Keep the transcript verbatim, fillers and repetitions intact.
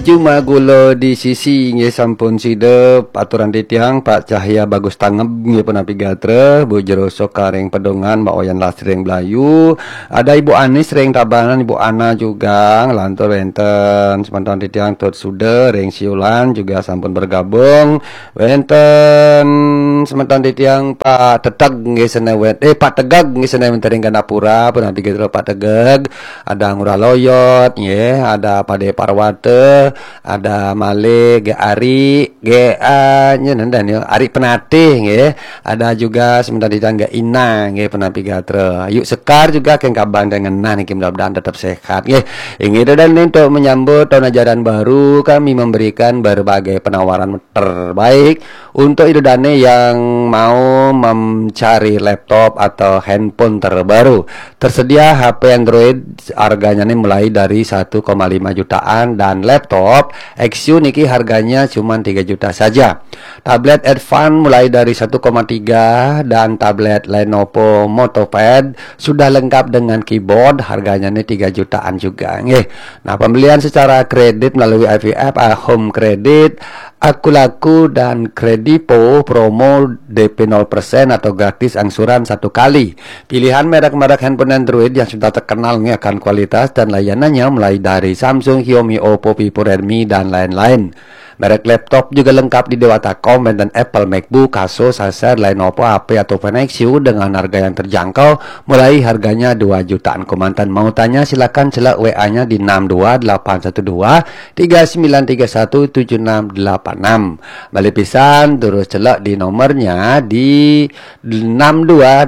Juma Gula di Sisi nggih sampun sida, aturan titiang Pak Cahya Bagus Tangeb nggih punapi gatra, Bu Jero Sokaring Pedongan, Mbak Wayan Lastri ring Blayu, ada Ibu Anis ring Tabanan, Ibu Ana juga nglantur wenten, semeton titiang Tut Suda ring Siulan juga sampun bergabung, wenten semeton titiang Pak Teteg nggih sene wet-, eh, Pak Tegeg nggih sene wenten ring Gandapura, punapi gatra Pak Tegeg, ada Ngurah Loyot nggih, ada Pade Parwata, ada malih Gek Ari, Gek, ah, nya nenten ya, Ari Penatih nggih. Ada juga semeton titiang Gek Ina nggih, punapi gatra. Yuk Sekar juga keng kaban dan ngenah niki, mudah-mudahan tetap sehat nggih. Inggih, dan untuk menyambut tahun ajaran baru, kami memberikan berbagai penawaran terbaik untuk ida dane yang mau mencari laptop atau handphone terbaru. Tersedia H P Android, harganya nih mulai dari satu koma lima jutaan, dan laptop X U niki harganya cuma tiga juta saja. Tablet Advan mulai dari satu koma tiga, dan tablet Lenovo MotoPad sudah lengkap dengan keyboard, harganya nih tiga jutaan juga nggih. Nah, pembelian secara kredit melalui I V F, ah, Home Credit, Akulaku, dan Kredipo promo D P nol persen atau gratis angsuran satu kali. Pilihan merek-merek handphone Android yang sudah terkenal nggih akan kualitas dan layanannya, mulai dari Samsung, Xiaomi, Oppo, Vivo, Redmi, dan lain-lain. Merek laptop juga lengkap di Dewata Com, dan Apple MacBook, Asus, Acer, Lenovo, H P atau Fenix U dengan harga yang terjangkau, mulai harganya dua jutaan kemanten. Mau tanya, silakan celek W A-nya di enam dua delapan satu dua tiga sembilan tiga satu tujuh enam delapan enam. Balik pisan, terus celek di nomornya di enam dua